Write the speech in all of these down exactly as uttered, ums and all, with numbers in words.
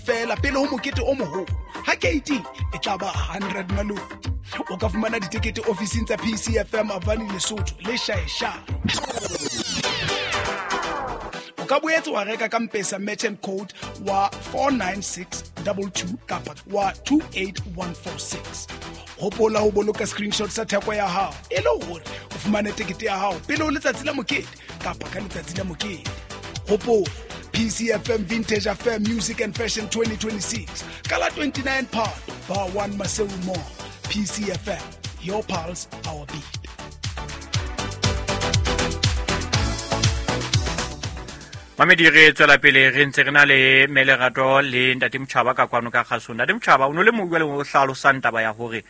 feela pele ho mokete o moholo. Ha keiting e tla ba hundred maloti. O ka fumana ditekete ofising tsa P C F M Avani Lesotho le Shaesha. O ka boetse wa reka ka M-Pesa merchant code wa four nine six two two kapa wa two eight one four six. Hopola ho boloka screenshot sa theko ya hao e le hore o fumane tekete ya hao pele ho letsatsi la mokete kapa ka letsatsi la mokete. Hopola P C F M Vintage Affair Music and Fashion twenty twenty-six ka la twenty-nine Phato Bar one Maseru Mall. P C F M, your pulse, our beat. Mamedi re tswela pele re ntse re na le Melerato le Ntate Motjhaba ka kwano ka kgasong. Ntate Motjhaba o no le mong jwale o hlalosang taba ya hore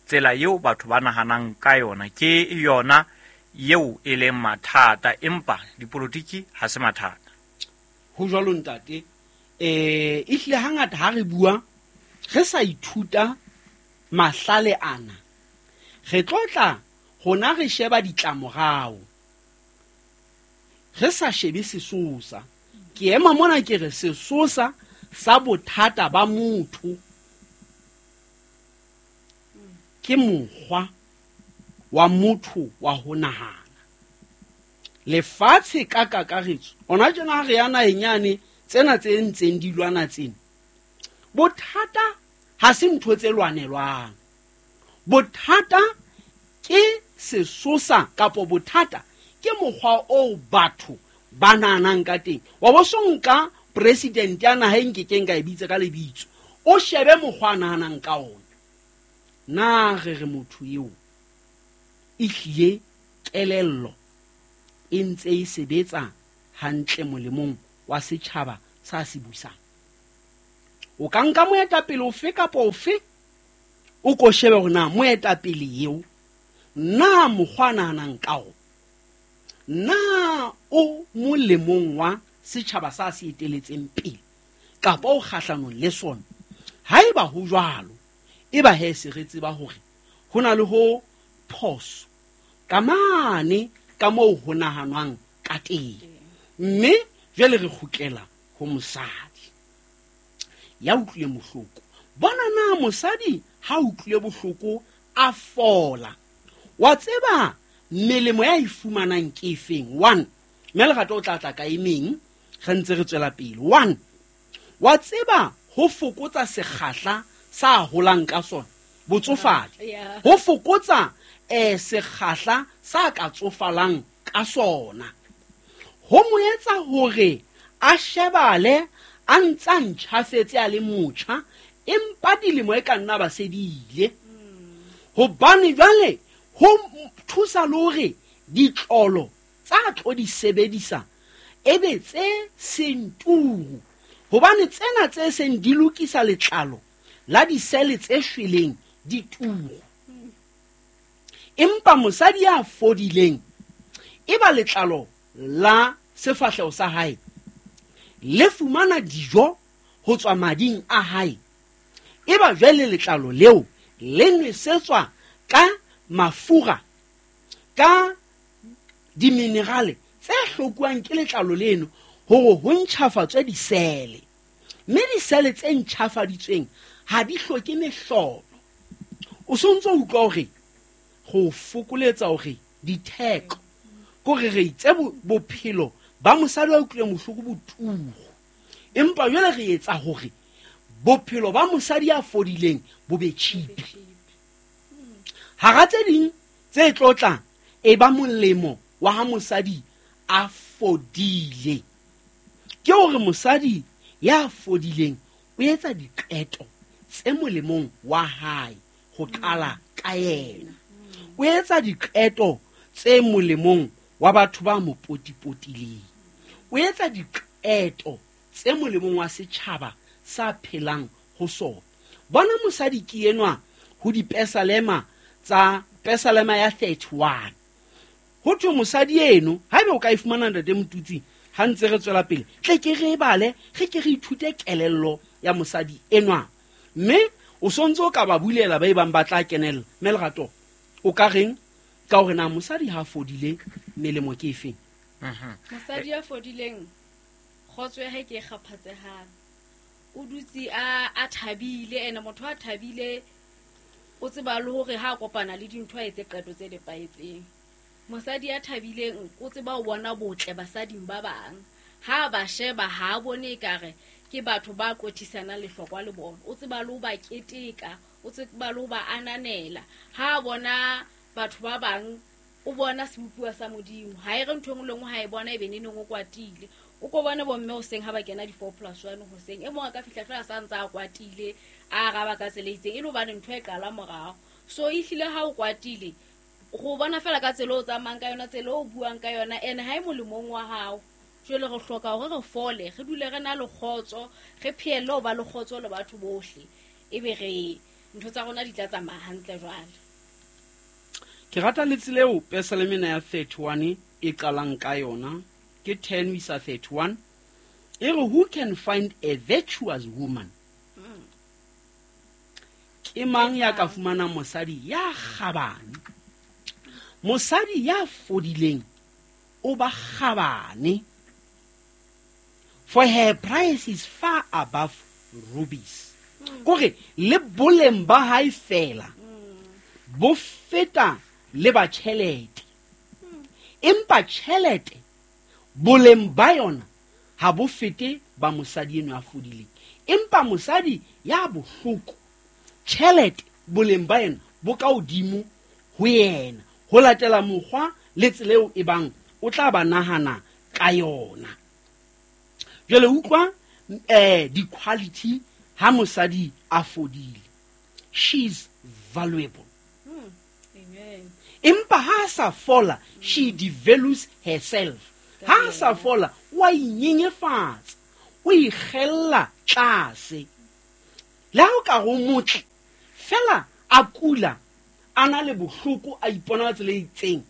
tsela eo batho ba nahanang ka yona ke yona eo e leng mathata, empa dipolotiki ha se mathata. Ho jwalo ntate, eh ehlile hangata ha re bua re sa ithuta mahlale ana, re tlotla rona re sheba ditlamorao, re sa shebe sesosa. Ke ema mona ke re sesosa sa bothata ba motho ke mokgwa wa motho wa ho nahana. Lefatshe ka kakaretso ona tjena ha re ya naheng yane, tsena tse ntseng di lwana tsena, bothata ha se ntho tse lwanelwang. Bothata ke sesosa kapo bothata ke mokgwa oo batho ba nahanang ka teng. Wa bo so nka president ya naha e nkekeng ka e bitsa ka lebitso, o shebe mokgwa a nahanang ka ona. Na re re motho eo ehlile kelello e ntse e sebetsa hantle molemong wa setjhaba sa se busang? O ka nka moetapele ofe kapa ofe, o ko shebe hore na moetapele eo na mokgwa a nahanang ka ona na o molemong wa setjhaba sa se eteletseng pele kapa o kgahlanong le sona. Haeba ho jwalo, eba he se re tseba hore ho na le ho phoso ka mane ka moo ho nahanwang ka teng. Mme jwale re kgutlela ho mosadi ya utlwileng bohloko. Bona na mosadi ha utlwile bohloko a fola, wa tseba melemo ya e fumanang ke efeng? One, mme Lerato o tla tla ka e meng re ntse re tswela pele. One, wa tseba ho fokotsa sekgahla sa holang ka sona botsofadi, ho fokotsa eh sekgahla sa ka tsofalang ka sona, ho mo etsa hore a shebale a ntsa ntjhafetse a le motjha, empa dilemo e ka nna ba se di ile. Hobane jwale ho thusa le hore ditlolo tsa tlo di sebedisa ebe tse seng turu, hobane tsena tse seng di lokisa letlalo la disele tse shweleng di turu. Empa mosadi ya fodileng e ba letlalo la sefahleho sa hae le fumana dijo ho tswa mading a hae, e ba jwale letlalo leo le nwesetswa ka mafura ka diminerale tse hlokuwang ke letlalo leno hore ho ntjhafatswe disele. Mme disele tse ntjhafaditsweng ha di hloke mehlolo. O sontso utlwa hore go fokoletsa hore ditheko kore re itse bophelo ba mosadi wa utlwileng bohloko bo turu, empa jwale re etsa hore bophelo ba mosadi ya fodileng bo be cheap. Hara tse ding tse tlotlang e ba molemo wa ha mosadi a fodile ke hore mosadi ya fodileng o etsa diqeto tse molemong wa hae ho qala ka yena. O etsa diqeto tse molemong wa batho ba mo potipotileng. O etsa diqeto tse molemong wa setjhaba sa phelang ho sona. Bona mosadi ke enwa ho dipesalema tsa Pesalema ya thirty-one. Ho thwe mosadi eno, haebe o ka e fumana Ntate Motutsi ha ntse re tswela pele, tle ke re bale, re ke re ithute kelello ya mosadi enwa. Mme o sontso o ka ba bulela ba e bang ba tla kenella. Mme Lerato, o ka reng ka hore na mosadi ha fodile melemo ke efeng? Mosadi ya fodileng kgotso ya hae ke e kgaphatsehang. O dutse a a thabile, ene motho a thabile o tseba le hore ha a kopana le dintho a etse qeto tse nepahetseng. Mosadi ya thabileng o tseba ho bona botle basading ba bang. Ha ba sheba ha a bone ekare ke batho ba qothisanang lehlokwa le bona. O tseba le ho ba keteka, o tseba le ho ba ananela. Ha a bona batho ba bang o bona sebopuwa sa Modimo. Ha e re ntho e nngwe le nngwe ha e bona e be neneng o kwatile. O ko bone bomme hoseng ha ba kena di-four plus one hoseng, e mong a ka fihla fela sa ntse a kwatile, a araba ka tsela e itseng, e le hobane ntho e qala morao. So ehlile ha o kwatile, go bona fela ka tsela o tsamayang ka yona, tsela o buang ka yona, ene ha e molemong wa hao. Jwale re hloka hore re fole, re dule re na le kgotso, re phehelle ho ba le kgotso le batho bohle, ebe re ntho tsa rona di tla tsamaya hantle jwale. Ke rata le tsela eo Pesaleme ena ya thirty-one e qalang ka yona, ke ten ho isa thirty-one. E re, who can find a virtuous woman? Mm. Ke mang ya ka fumanang mosadi ya kgabane? Mosadi ya fodileng o ba kgabane. For her price is far above rubies. Mm. Kore le boleng ba hae fela Mm. bo feta le ba tjhelete. Mm. Empa tjhelete boleng ba yona ha bo fete ba mosadi enwa a fodileng. Empa mosadi ya bohloko, tjhelete boleng ba yona bo ka hodimo ho yena, ho latela mokgwa le tsela eo e bang o tla ba nahana ka yona. Jwale utlwa, eh, di-quality ha mosadi a fodile. She's valuable. Mm. Amen. Empa ha a sa fola, she devalues herself. Ha a sa fola, wa inyenyefatsa, o ikgella tlase. Le ha o ka re o motle, fela a kula, a na le bohloko, a ipona ka tsela e itseng,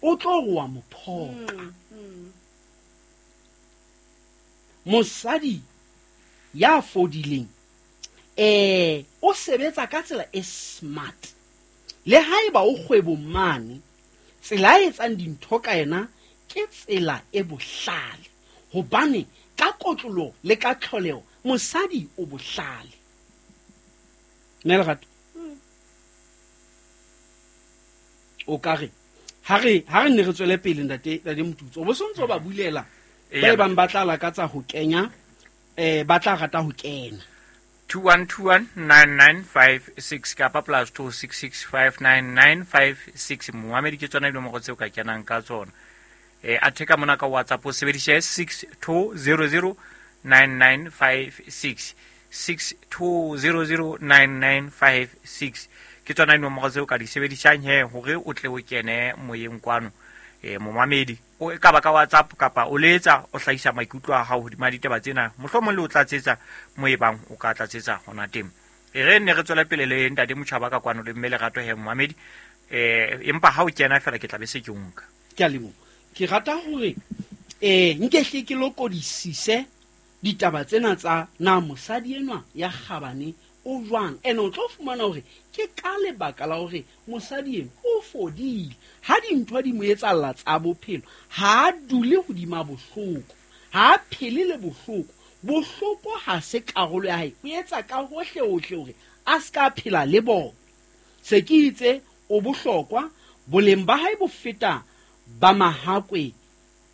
o tlo re wa mo phoqa. Mm, mm. Mosadi ya fodileng, eh, o sebetsa ka tsela e smart. Le haeba o kgwebong mane, tsela a etsang dintho ka yena ke tsela e bohlale. Hobane ka kotlolo le ka tlholeho, mosadi o bohlale. Mme Lerato, Mm. o ka re, ha re, ha re nne re tswele pele, ntate, ntate Motutso, o bo sontso ba bulela, Eya. ba e bang ba tla lakatsa ho kenya, eh, ba tla rata ho kena. two one two one nine nine five six kapa plus two six six five nine nine five six. Moamedi ke tsona dinomoro tseo ka kenang ka tsona. Eh, a theka mona ka WhatsApp o sebedise six two zero zero nine nine five six. six two zero zero nine nine five six. Ke tsona dinomoro tseo ka di sebedisang he hore o tle o kene moyeng kwano. Eh, momamedi, o e ka ba ka WhatsApp kapa o letsa o hlahisa maikutlo a hao hodima ditaba tsena, mohlomong le o tlatsetsa mo e bang o ka tlatsetsa hona teng. E re nne re tswele pele le ntate Motjhaba ka kwano le mme Lerato he momamedi. Eh, empa ha o kena fela ke tla be se ke o nka. Ke a leboha. Ke rata hore, eh, nke hle ke lokodisise ditaba tsena tsa na mosadi enwa ya kgabane o jwang. Ene o tlo fumana hore ke ka lebaka la hore mosadi enwa o fodile. Ha dintho di mo etsahalla tsa bophelo, ha a dule hodima bohloko, ha a phele le bohloko. Bohloko ha se karolo ya hae, o etsa ka hohle hohle hore a se ka phela le bona. Se ke itse o bohlokwa, boleng ba hae bo feta ba mahakwe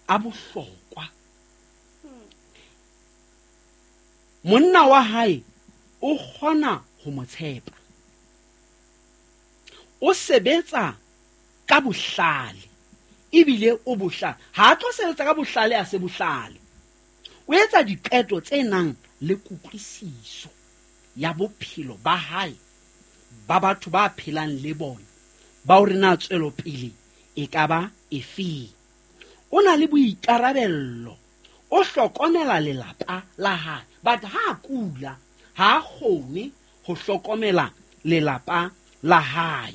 a bohlokwa. Monna wa hae o kgona ho mo tshepa. O sebetsa ka bohlale, ebile o bohlale. Ha a tlo sebetsa ka bohlale a se bohlale. O etsa diqeto tse nang le kutlwisiso ya bophelo ba hae, ba batho ba phelang le bona, ba hore na tswelopele e ka ba efeng. O na le boikarabello, o hlokomela lelapa la hae. But ha a kula, ha a kgone ho hlokomela lelapa la hae.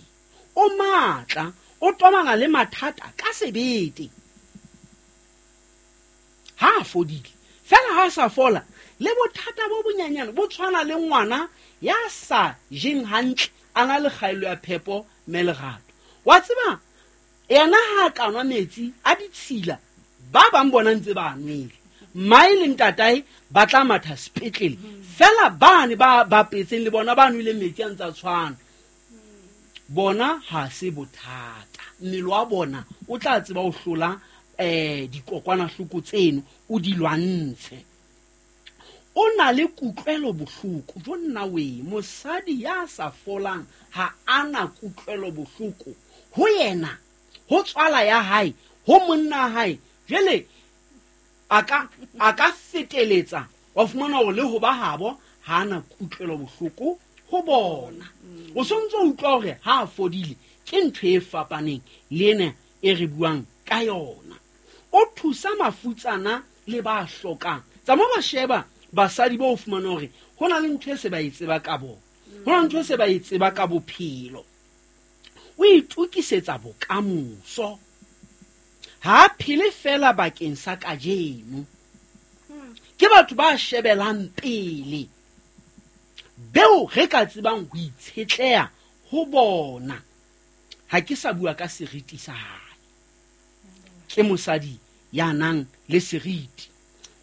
O matla, o tobana le mathata ka sebete. Ha a fodile, fela ha a sa fola, le bothata bo bonyenyane bo tshwana le ngwana ya sa jeng hantle, a na le kgaello ya phepo mme Lerato. Wa tseba, yena ha a ka nwa metsi a ditshila, ba bang bona ntse ba nwele. Mmae le ntatae ba tla matha sepetlele fela bane ba bapetseng le bona ba nweleng metsi a ntse a tshwana bona ha se bothata mmele wa bona o tla tseba ho hlola eh dikokwanahloko tseno o di lwantshe. O na le kutlwelo bohloko jo nna we mosadi ya sa folang ha ana kutlwelo bohloko ho yena ho tswala ya hae ho monna hae jele a ka a ka feteletsa wa fumana hore le ho ba habo ha ana kutlwelo bohloko ho bona. O sontso utlwa hore ha a fodile ke ntho e fapaneng le ena e re buang ka yona. O thusa mafutsana le ba hlokang. Tsa mo ba sheba basadi ba o fumana hore ho na le ntho e se ba e tseba ka bona, ho na le ntho e se ba e tseba ka bophelo. O itokisetsa bokamoso, ha phele fela bakeng sa kajeno. Ke batho ba shebelang pele beo re ka tsebang ho itshetleha ho bona. Ha ke sa bua ka seriti sa hae, ke mosadi ya nang le seriti.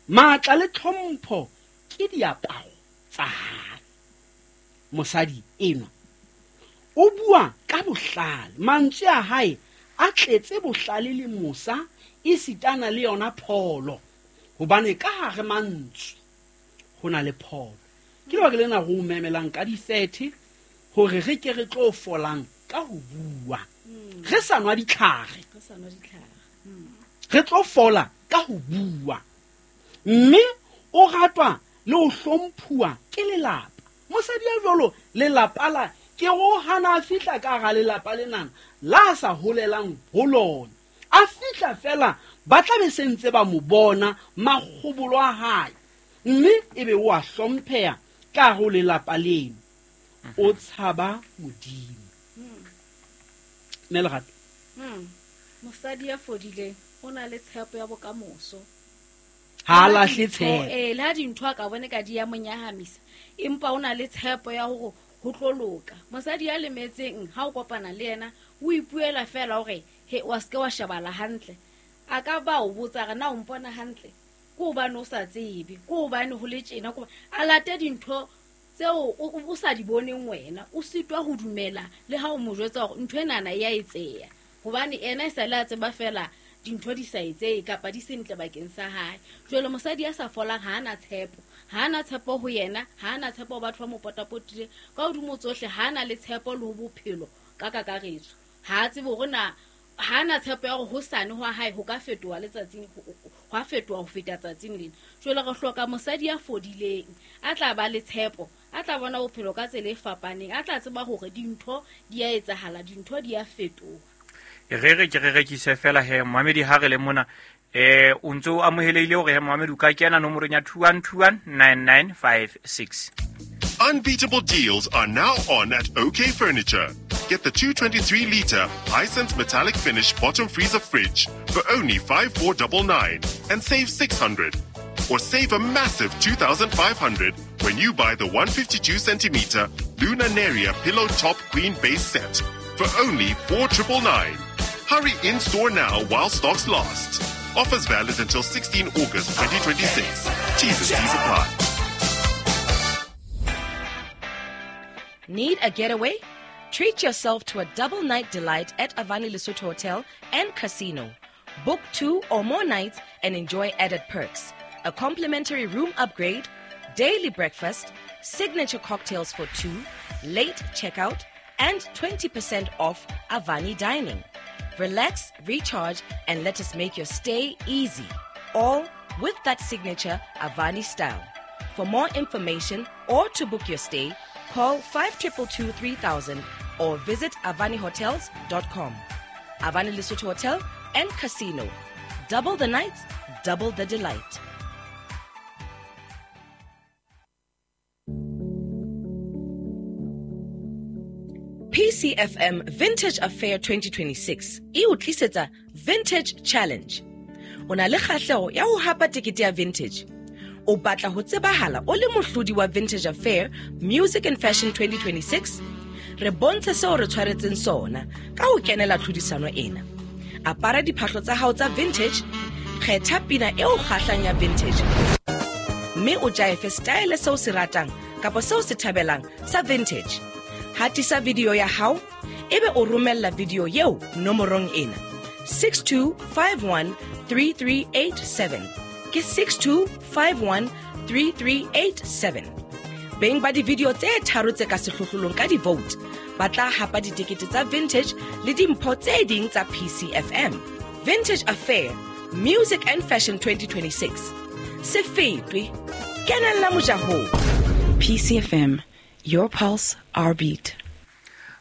Matla le tlhompho ke diaparo tsa hae. Mosadi enwa o bua ka bohlale, mantswe a hae a tletse bohlale le mosa esitana le yona pholo, hobane ka hare mantswe ho na le pholo. Ke lebaka lena re o memelang ka di-thirty hore re ke re tlo folang ka ho bua, re sa nwa ditlhare, re tlo fola ka ho bua. Mme o ratwa le ho hlomphuwa ke lelapa. Mosadi ya jwalo lelapa la ke ho hana a fihla ka hara lelapa lenana la sa holelang ho lona, a fihla fela ba tla be se ntse ba mo bona makgobolo a hae, mme ebe o a hlompheha ka hare ho lelapa leno. O tshaba Modimo. Mme Lerato, mosadi ya fodileng o na le tshepo ya bokamoso, ha a lahle tshepo. Eh, le ha dintho a ka bone ka di ya monyahamisa, empa o na le tshepo ya hore ho tlo loka. Mosadi ya lemetseng ha o kopana le yena o ipuela fela hore he wa se ke wa shebala hantle. A ka ba o botsa re na o mpona hantle, ke hobane o sa tsebe, ke hobane ho le tjena, ke a late dintho tseo o sa di boneng wena, o sitwa ho dumela le ha o mo jwetsa hore ntho enana e ya etseya, hobane ena e sa le a tseba fela dintho di sa etseye kapa di sentle bakeng sa hae. Jwale mosadi ya sa folang ha ana tshepo, ha ana tshepo ho yena, ha ana tshepo ho batho ba mo potapotileng, ka hodimo tsohle ha ana le tshepo le ho bophelo ka kakaretso. Ha a tsebe hore na ha ana tshepo ya hore hosane hwa hae ho ka fetoha letsatsing, hwa fetoha ho feta tsatsing lena. Jwale re hloka mosadi ya fodileng, a tla ba le tshepo, a tla bona bophelo ka tsela e fapaneng, a tla tseba hore dintho di a etsahala, dintho di a fetoha. Re re ke re rekise fela he Mohamedi ha re le mona eh o ntse o amohelehile hore he Mohamedi o ka kena nomorong ya two one two one nine nine five six. Unbeatable deals are now on at OK Furniture. Get the two twenty-three litre Hisense metallic finish bottom freezer fridge for only five four nine nine and save six hundred. Or save a massive two thousand five hundred when you buy the one fifty-two centimeter Luna Neria pillow top queen base set for only four nine nine nine. Hurry in store now while stocks last. Offers valid until sixteenth August twenty twenty-six. T's and C's apply. Need a getaway? Treat yourself to a double night delight at Avani Lesotho Hotel and Casino. Book two or more nights and enjoy added perks. A complimentary room upgrade, daily breakfast, signature cocktails for two, late checkout, and twenty percent off Avani dining. Relax, recharge, and let us make your stay easy. All with that signature Avani style. For more information or to book your stay, call five two two two three thousand or visit avani hotels dot com. Avani Lesotho Hotel and Casino. Double the nights, double the delight. P C F M Vintage Affair twenty twenty-six e o tlisetsa Vintage Challenge. O na le kgahleho ya ho hapa tekete ya Vintage. O batla ho tsebahala o le mohlodi wa Vintage Affair Music and Fashion twenty twenty-six? Re bontshe seo re tshwaretseng sona ka ho kenela tlhodisano ena. Apara diphahlo tsa hao tsa vintage, Kgetha pina eo kgahlang ya vintage mme o jaefe style seo se ratang kapa seo se thabelang sa vintage. Hatisa video ya hao ebe o romella video eo nomorong ena six two five one three three eight seven. Ke six two five one three three eight seven. Beng ba di-video tse tharo tse ka sehlohlolong ka di-vote ba tla hapa ditekete tsa vintage le dimpho tse ding tsa P C F M. Vintage Affair, Music and Fashion twenty twenty-six. Se fetwe, kenella mojahong. P C F M, your pulse, our beat.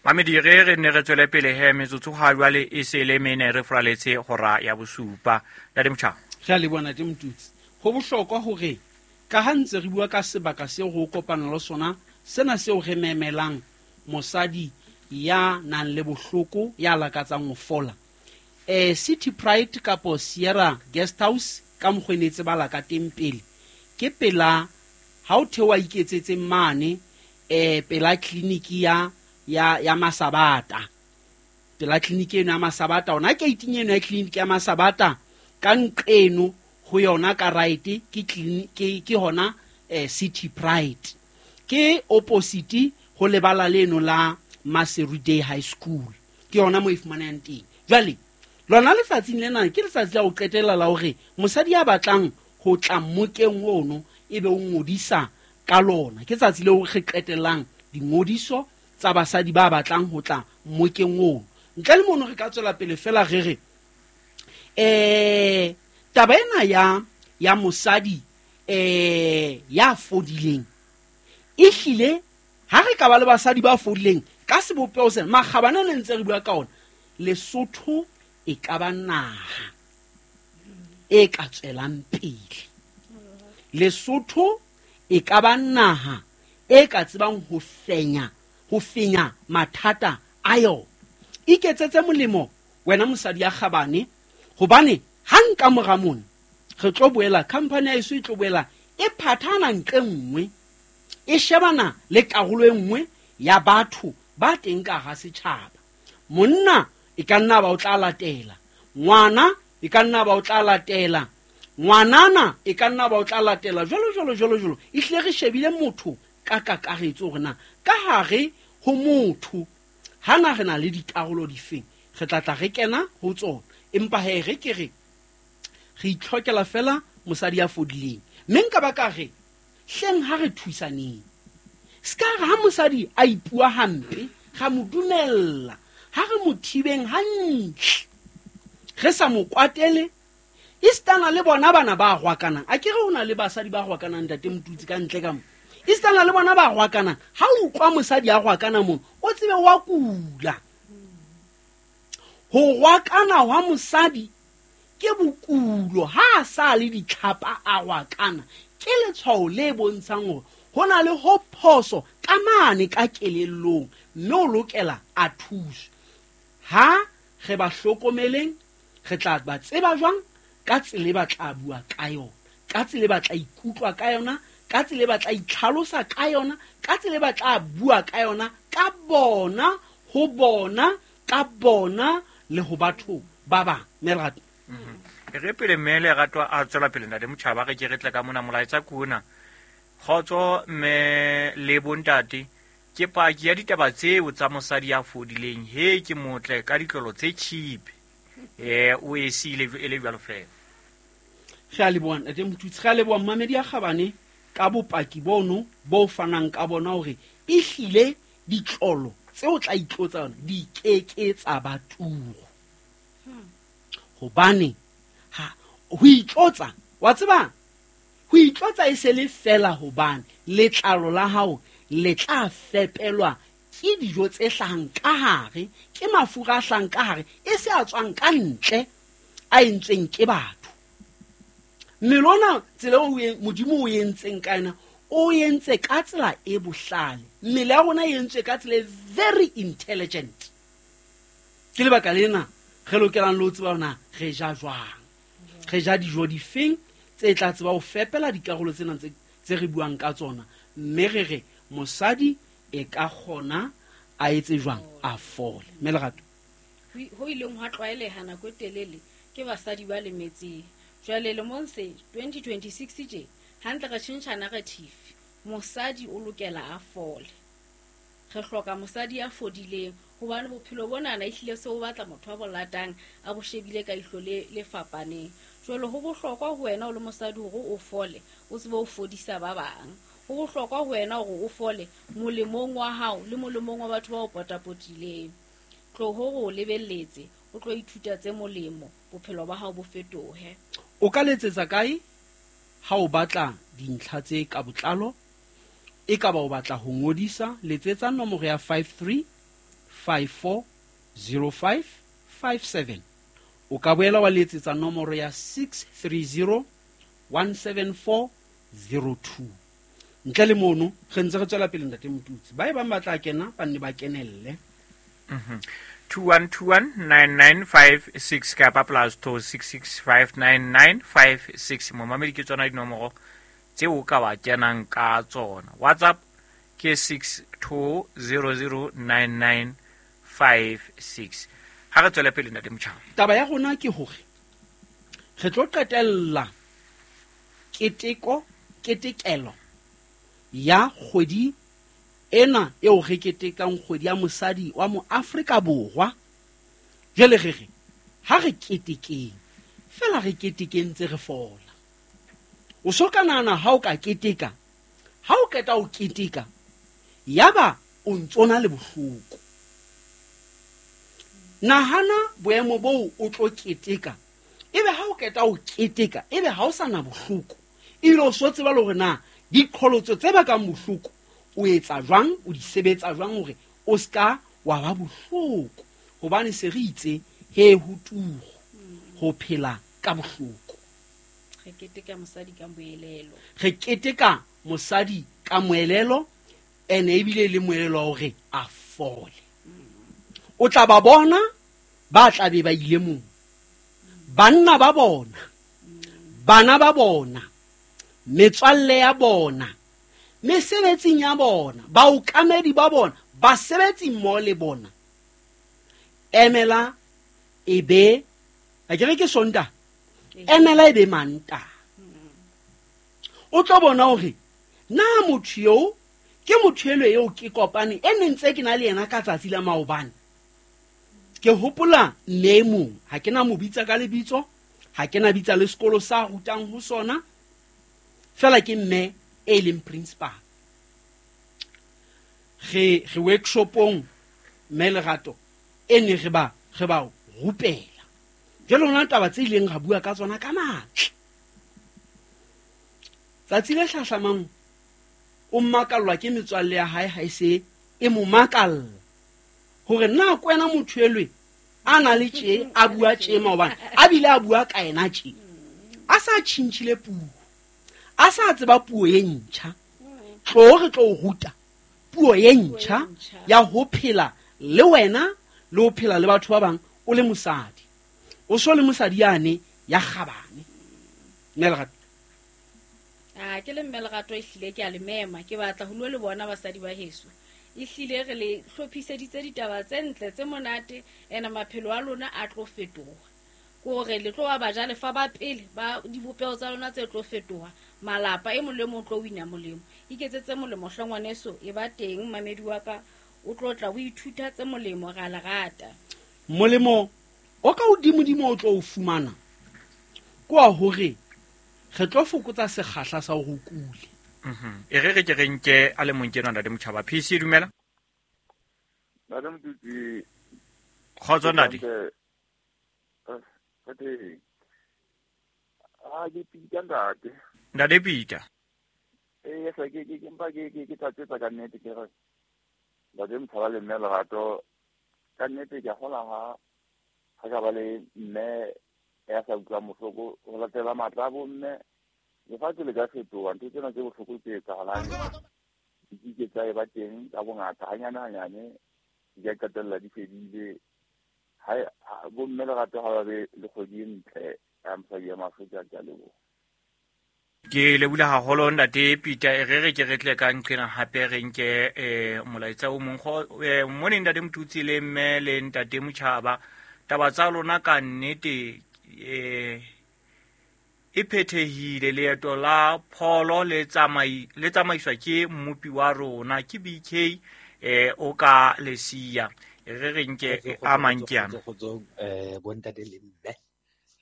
Mamedi re re ne re tswele pele he metsotso ha jwale e se le mene re fraletse hora ya bosupa. Ntate Motjhaba. Re a leboha Ntate Motutsi. Ho bohlokwa hore ka ha ntse re bua ka sebaka seo ho kopana le sona, sena seo re memelang mosadi ya nang le bohloko ya lakatsang ho fola. Eh City Pride kapo Sierra Guest House ka mokgwenetse ba la ka teng pele. Ke pela ha o thewa iketsetse mane eh pela clinic ya ya ya Masabata. Pela clinic eno ya Masabata, ona gate eno ya clinic ya Masabata ka nqeno ho yona ka right ke clinic ke ke hona eh, City Pride. Ke opposite ho lebala leno la Maseru Day High School. Ke yona mo e fumanang teng. Jwale lona letsatsing lena ke letsatsi la ho qetela la hore mosadi ya batlang ho tla mmokeng ono ebe o ngodisa ka lona. Ke tsatsi leo re qetellang dingodiso tsa basadi ba batlang ho tla mmokeng ono. Ntle le mono re ka tswela pele fela re re eh taba ena ya ya mosadi eh ya fodileng e hlile ha re ka ba le basadi ba fodileng ka sebopeho sena makgabane ne ntse re bua ka ona, Lesotho e ka ba naha e ka tswelang pele. Lesotho e ka ba naha e ka tsebang ho fenya ho fenya mathata a yona. Iketsetse molemo wena mosadi ya kgabane, hobane hang ka mora mona re tlo boela company ya eso e tlo boela e phathana ntle nngwe e shebana le karolo e nngwe ya batho ba teng ka hara setjhaba. Monna e ka nna ba o tla latela, ngwana e ka nna ba o tla latela, ngwanana e ka nna ba o tla latela, jwalo jwalo jwalo jwalo. E hlile re shebile motho ka kakaretso hore na ka hare ho motho hana re na le dikarolo difeng, re tla tla re kena ho tsona. Empa he re ke re re itlhokela fela mosadi ya fodileng. Mme nka ba ka re hleng ha re thusaneng. Ska re ha mosadi a ipua hampe ga mo dumella, ha re mo thibeng hantle, re sa mo kwatele. Istana le bona bana ba rwakanang, a ke re ho na le basadi ba rwakanang Ntate Motutsi ka ntle ka mo. Istana le bona ba rwakanang, ha o utlwa mosadi a rwakana mo o tsebe wa kula. Ho rwakana hwa mosadi ke bokulo, ha a sa le ditlhapa a rwakana ke letshwao le bontshang hore ho na le ho phoso ka mane ka kelellong, mme o lokela a thuswe. Ha re ba hlokomeleng, re tla ba tseba jwang ka tsela e ba tla bua ka yona, ka tsela e ba tla ikutlwa ka yona, ka tsela e ba tla itlhalosa ka yona, ka tsela e ba tla bua ka yona, ka bona, ho bona, ka bona le ho batho ba bang. Merato. Re pele mme Lerato a tswela pele Ntate Motjhaba, re ke re tle ka mona molaetsa kuna. Kgotso mme le bontate, ke paki ya ditaba tseo tsa mosadi ya fodileng. He ke motle ka ditlolo tse cheap. Eh o e sile e le jwalo fela. Re a leboha Ntate Motutsi, re a leboha mmamedi ya kgabane ka bopaki bono bo fanang ka bona hore e hlile ditlolo tseo tla itlotsa yona di keke tsa ba turu. Hobane ha ho itlotsa, wa tseba ho itlotsa e se le fela, hobane letlalo la hao le tla fepelwa ke dijo tse hlahang ka hare, ke mafura a hlahang ka hare, e se a tswang ka ntle a entsweng ke batho. Mmele ona tsela eo Modimo o entseng ka yona, o entse ka tsela e bohlale. Mmele ya rona e entswe ka tsela e very intelligent. Ke lebaka lena re lokelang le ho tseba hore na re ja jwang, re ja dijo difeng tse tla tseba ho fepela dikarolo tsena tse tse re buang ka tsona. Mme re re mosadi e ka kgona a etse jwang a fole. Mme Lerato, ho ileng hwa tlwaeleha nako e telele ke basadi ba lemetseng. Jwale lemong se twenty twenty-six tje hantle re tjhentjha narrative. Mosadi o lokela a fole. Re hloka mosadi ya fodileng hobane bophelo bona na ehlile se o batla motho a bo latang a bo shebile ka ihlo le le fapaneng. Jwale ho bohlokwa ho wena o le mosadi hore o fole, o tsebe ho fodisa ba bang. Ho bohlokwa ho wena hore o fole molemong wa hao le molemong wa batho ba o potapotileng. Tlo hore o lebelletse, o tlo ithuta tse molemo, bophelo ba hao bo fetohe. O ka letsetsa kae ha o batla dintlha tse ka botlalo? E ka ba o batla ho ngodisa, letsetsa nomoro ya five three five four zero five five seven. O ka boela wa letsetsa nomoro ya six three zero one seven four zero two. Ntle le mono re ntse re tswela pele ntate Motutsi. Ba e bang ba tla kena ba nne ba kenelle. Mhm. two one two one nine nine five six kapa plus two six six five nine nine five six. Momamedi ke tsona dinomoro tseo ka ba kenang ka tsona. WhatsApp ke six two zero zero nine nine five six. Ha re tswele pele ntate Motjhaba. Taba ya rona ke hore re tlo qetella keteko ketekelo ya kgwedi ena eo re ketekang kgwedi ya mosadi wa mo Afrika Borwa. Jwale re re ha re ketekeng fela re ketekeng tse re fola. O so ka nahana ha o ka keteka, ha o qeta o keteka yaba o ntsona le bohloko. Nahana boemo boo o tlo keteka, ebe ha o qeta o keteka ebe ha o sa na bohloko, ebile o so tseba le hore na diqholotso tse bakang bohloko o etsa jwang, o di sebetsa jwang hore o ska wa ba bohloko. Hobane se re itse he ho tugo ho phela ka bohloko. Re keteka mosadi ka moelelo. Re keteka mosadi ka moelelo, ene ebile le moelelo wa hore a fole. O tla ba bona ba tla be ba ile moo. Banna ba bona, bana ba bona, metswalle ya bona, mesebetsing ya bona, baokamedi ba bona, basebetsi mmoho le bona. Emela e be, a ke re ke Sontaha, emela e be Mantaha. O tlo bona hore na motho eo ke motho elo eo ke kopane e ne ntse ke na le yena ka tsatsi la maobane. Ke hopola mme e mong, ha ke na mo bitsa ka lebitso, ha ke na bitsa le sekolo sa rutang ho sona, fela ke mme e leng principal. Re re workshopong mme Lerato e ne re ba re ba rupela. Jwale hona taba tse ileng ra bua ka tsona ka matla. Tsatsi le hlahlamang o mmakallwa ke metswalle ya hae ha e se e mo makalla hore na kwena motho elwe a na le tje a bua tje maobane a bile a bua ka yena tje a sa tjhintjhile puo, a sa tseba puo e ntjha. Tlo re tlo ruta puo e ntjha ya ho phela le wena le ho phela le batho ba bang o le mosadi. O so le mosadi yane ya kgabane. Mme Lerato. Ah, ke le mme Lerato ehlile ke a le mema, ke batla ho lo le bona basadi ba heso. Ehlile re le hlophiseditse ditaba tse ntle tse monate, ena maphelo a lona a tlo fetoha. Ke hore le tlo ba bajalefa ba pele ba dibopeho tsa lona tse tlo fetoha. Malapa e mong le mong o tlo wina molemo. Iketsetse molemo hle ngwaneso, e ba teng mamedi wa ka, o tlo tla o ithuta tse molemo, ra le rata. Molemo o ka hodimodimo o tlo o fumana ke wa hore re tlo fokotsa sekgahla sa hore o kule. Mhm. E re re ke re nke a le mong ke ntate Motjhaba. P C dumela. Ntate Motutsi. Kgotso ntate. Ntate. Ah, ke Peter ntate. Ntate Peter. Eh, yes, ke ke ke mpa ke ke ke tlatsetsa ka nnete ke re ntate Motjhaba le mme Lerato ka nnete ke a kgola ha ha ka ba le mme ya sa utlwang bohloko ho latela matla a bomme. Lefatshe le ka fetoha, ntho tsena tse bohloko tse etsahalang di ke tsa e ba teng ka bongata hanyane hanyane di ka qetella di fedile. Ha bomme Lerato ha ba be le kgwedi e ntle ya mosadi ya Maafrika, ke a leboha. Ke lebohile haholo ntate Peter. E re re ke re tle ka nqena hape re nke eh molaetsa o mong. Mone ntate Motutsi le mme le ntate Motjhaba, taba tsa lona ka nnete eh e phethehile. Leeto la pholo le tsamai le tsamaiswa ke mmopi wa rona ke B K eh o ka lesia. Re re nke a mang ke ana. Kgotsong eh bontate le mme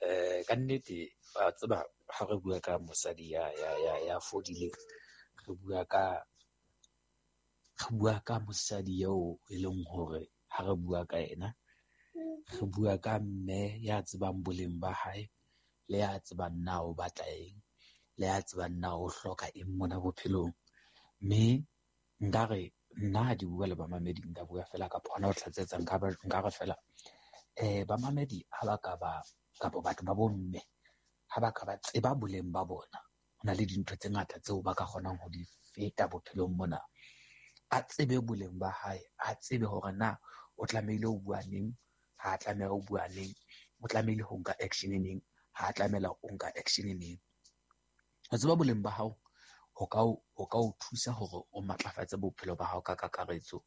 eh ka nnete wa tseba ha re bua ka mosadi ya ya ya ya fodileng, re bua ka re bua ka mosadi eo e leng hore ha re bua ka ena re bua ka mme ya tsebang boleng ba hae, le ya tsebang na o batla eng, le ya tsebang na o hloka eng mona bophelong. Mme nkare nna ha di bua le bamamedi nka bua fela kapa hona ho tlatsetsa nka ba nka re fela eh bamamedi ha ba ka ba kapa batho ba bomme ha ba ka ba tseba boleng ba bona, ho na le dintho tse ngata tseo ba ka kgonang ho di feta bophelong mona. A tsebe boleng ba hae, a tsebe hore na o tlamehile ho bua neng, ha a tlameha ho bua neng, o tlamehile ho nka action neng, ha a tlamela ho nka action neng. Ho tseba boleng ba hao ho ka o, ho ka o thusa hore o matlafatse bophelo ba hao ka kakaretso,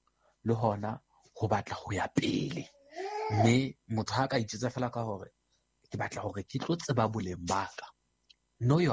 le hona ho batla ho ya pele. Mme motho ha ka itjwetsa fela ka hore ke batla hore ke tlo tseba boleng ba ka, know your